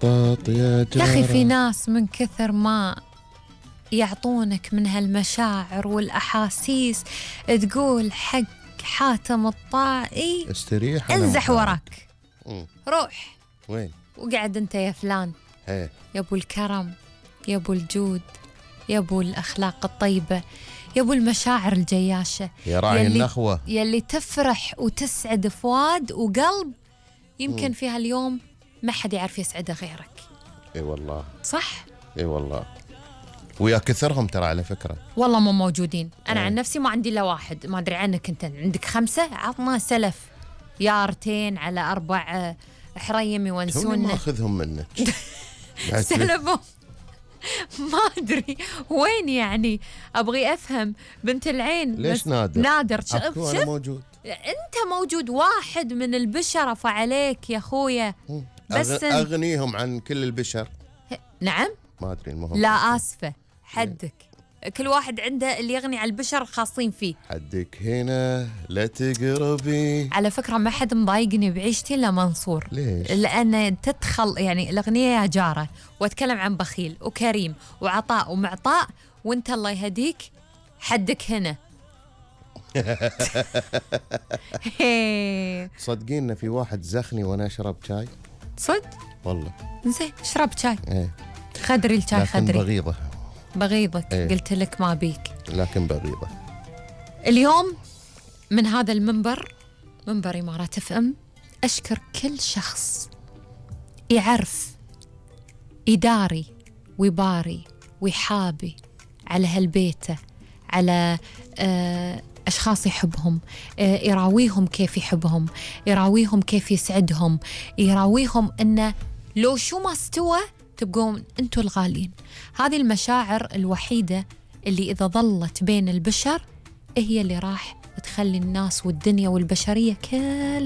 بطاط يا جارة. يا أخي في ناس من كثر ما يعطونك من هالمشاعر والأحاسيس تقول حق حاتم الطائي استريح انزح وراك. روح وين وقعد انت يا فلان. هي. يا ابو الكرم، يا ابو الجود، يا ابو الأخلاق الطيبة، يا ابو المشاعر الجياشة، يا راعي النخوة، يلي تفرح وتسعد فؤاد وقلب يمكن في هاليوم ما حد يعرف يسعده غيرك. اي والله صح. اي والله. ويا كثرهم ترى على فكرة والله مو موجودين. أنا عن نفسي ما عندي إلا واحد، ما أدري عنك أنت عندك 5. عطنا سلف يارتين على 4 حريم يونسون. ما أخذهم منك. سلفهم ما أدري وين يعني. أبغي أفهم بنت العين. ليش نادر؟ نادر أنا موجود. أنت موجود، واحد من البشر فعليك يا أخويا. بس أغنيهم عن كل البشر. نعم. ما أدري المهم. لا آسفة، حدك. كل واحد عنده اللي يغني على البشر الخاصين فيه. حدك هنا لا تقربي. على فكرة ما حد مضايقني بعيشتي إلا منصور. ليش؟ لأن تدخل يعني الأغنية يا جارة، وأتكلم عن بخيل وكريم وعطاء ومعطاء، وأنت الله يهديك حدك هنا. صدقين في واحد زخني وأنا أشرب شاي. صد؟ والله. زين اشرب شاي. ايه. خدري الشاي خدري. بغيضة. بغيضك. ايه. قلت لك ما بيك. لكن بغيضة. اليوم من هذا المنبر، منبر إمارات FM، أشكر كل شخص يعرف يداري ويباري ويحابي على هالبيته، على أشخاص يحبهم، يراويهم كيف يحبهم، يراويهم كيف يسعدهم، يراويهم أنه لو شو ما استوى تبقون أنتوا الغالين. هذه المشاعر الوحيدة اللي إذا ظلت بين البشر هي اللي راح تخلي الناس والدنيا والبشرية كل